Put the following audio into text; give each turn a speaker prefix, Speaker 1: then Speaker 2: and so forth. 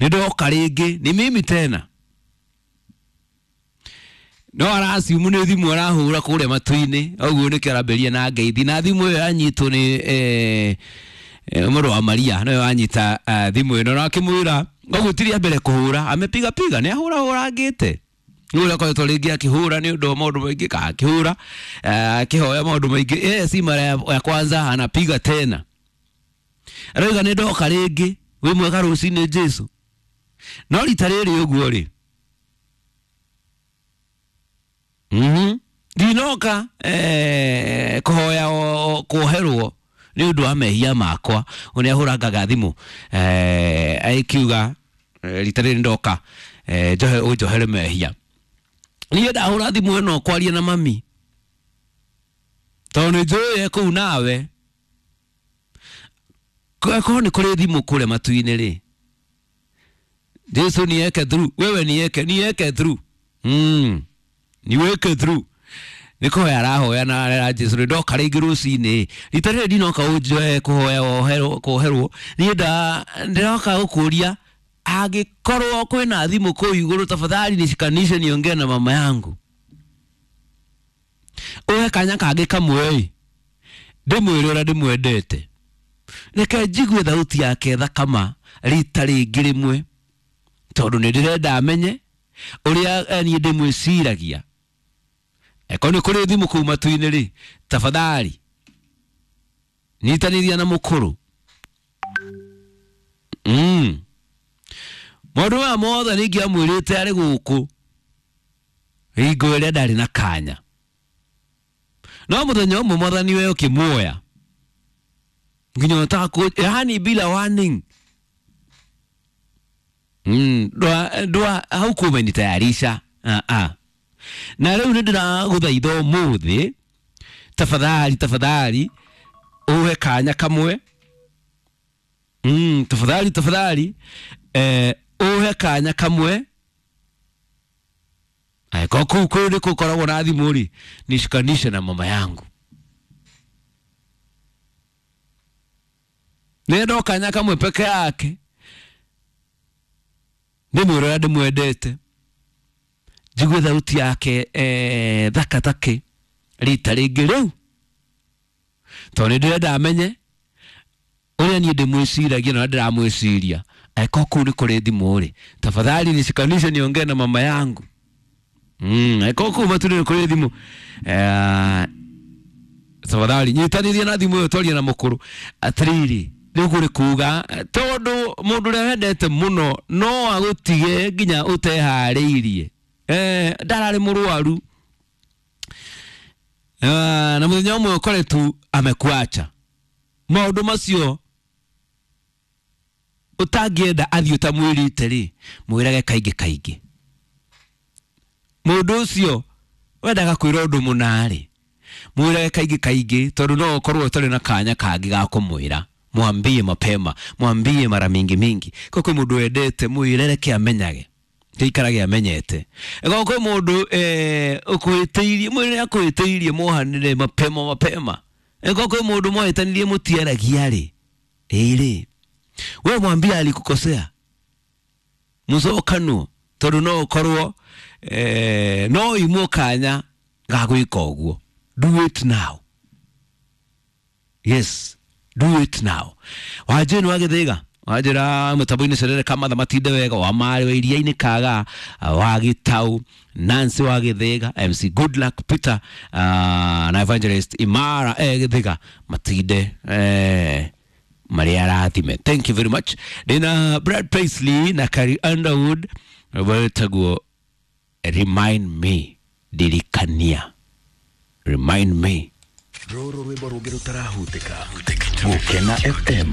Speaker 1: Nĩ ndoka rĩngĩ, ni mimi tena. No araciumu nĩ thimũ arahũra kũrĩa matu-inĩ, ũguo nĩkĩo arambĩrĩria na ngeithi, na thimũ ĩyo yanyitwo nĩ mũrũ wa Maria, noyo anyita thimũ ĩno na akĩmwĩra ũguo ti rĩa mbere kũhũra, amepiga piga, nĩ ahũra hũrangĩte. Nĩ akoretwo rĩngĩ akĩhũra nĩ ũndũ wa maũndũ maingĩ, ka akĩhũra akĩhoya maũndũ maingĩ. Si mara ya kwanza anapiga tena. Arauga nĩ ndoka rĩngĩ, wĩ mwega rũcinĩ Jesu. No rita rĩrĩ ũguo rĩ, ndinoka kũhoya kuoherwo nĩ ũndũ wa mehia makwa. Nĩ ahũrangaga thimũ akiuga rita rĩrĩ ndoka njohe ũnjohere mehia. Niĩ ndahũra thimũ ĩno kwaria na mami tondũ nĩ njũĩ e kũu nawe. Korwo nĩ kũrĩ thimũ kũrĩa matu-inĩ rĩ, Jesu nieke through, wewe nieke, nieke through. Niweke through. Nĩ kũhoya arahoya na arera Jesu nĩ ndoka rĩngĩ rũcinĩ. Rita rĩrĩ ndinoka ũnjoe kũhoya kuoherwo, niĩ ndĩroka gũkũria angĩkorwo kwĩna thimũ kũu igũrũ, tafadhali nishikanishe niongee na mama yangu. Ũhe kanya kangĩ kamwe ĩ, ndĩmwĩre ũrĩa ndĩmwendete. Reke njigue thauti yake thakama rita rĩngĩ rĩmwe, tondũ nĩ ndĩrenda amenye ũrĩa niĩ ndĩmwĩciragia. Eko nĩ kũrĩ thimũ kũu matu-inĩ rĩ, tafadhali nyitanĩria na mũkũrũ. Maũndũ maya mothe nĩ ingĩamwĩrĩte arĩ gũkũ hingo ĩrĩa ndarĩ na kanya, no mũthenya ũmwe mwathani we ũkĩmuoya nginya ũtakũ, yani bila warning. Ndwa haukuwa umenitayarisha. Na rĩu nĩ ndĩragũthaitha ũmũthĩ, tafadhali tafadhali ũhe kanya kamwe. Tafadhali tafadhali ũhe kanya kamwe. Angĩkorwo kũu kũu nĩ gũkoragwo na thimũ rĩ, nishikanishe na mama yangu. Nĩ kanya kamwe peke yake, ndĩmwĩre ũrĩa ndĩmwendete, njigue thauti yake thaka take rita rĩngĩ rĩu, tondũ nĩ ndĩrenda amenye ũrĩa niĩ ndĩmwĩciragia na ũrĩa ndĩramwĩciria. Angĩkorwo kũu nĩ kũrĩ thimũ rĩ, tafadhali nishikanishe niongee na mama yangu. Angĩkorwo kũu matu-inĩ nĩ kũrĩ thimũ, tafadhali nyitanĩria na thimũ ĩyo twarie na mũkũrũ. Atĩrĩrĩ, rĩu kũrĩ kuga tondũ mũndũ ũrĩa wendete mũno no agũtige nginya ũteharĩirie. Ndararĩ mũrwaru na mũthenya ũmwe ũkore tu amekuacha. Maũndũ macio ũtangĩenda athiĩ ũtamwĩrĩte rĩ, mwĩrage kaingĩ kaingĩ. Mũndũ ũcio wendaga kwĩra ũndũ mũna rĩ, mwĩrage kaingĩ kaingĩ, tondũ no ũkorwo ũtarĩ na kanya kangĩ ga kũmwĩra. Mwambie mapema, mwambie mara mingi mingi. Kwa kwĩ mũndũ wendete, mwĩre reke amenyage, gĩikarage amenyete. Ĩkorwo kwĩ mũndũ ũkũhĩtĩirie, mwĩre akũhĩtĩirie, mohanĩre mapema mapema. Ĩkorwo kwĩ mũndũ mwahĩtanirie mũtiaragia rĩ, ĩrĩ we mwambie alikukosea, mũcokanwo, tondũ no ũkorwo no imwo kanya ga gwĩka ũguo. Do it now. Yes, do it now. Wanjĩ nĩ wagĩthĩga wanjĩra mũtambo-inĩ cerere kamatha matinde wega, wa marĩ wa iria-inĩ kaga wa gĩtau, Nancy wa gĩthĩga, MC Goodluck Peter na Evangelist Imara gĩthĩga matinde marĩa arathime. Thank you very much. Ndĩna Brad Paisley na Carrie Underwood wetagwo Remind Me, Ndirikania. Remind Me.
Speaker 2: Rũrũ rwĩmbo rũngĩ rũtarahutĩka. Gũkena FM.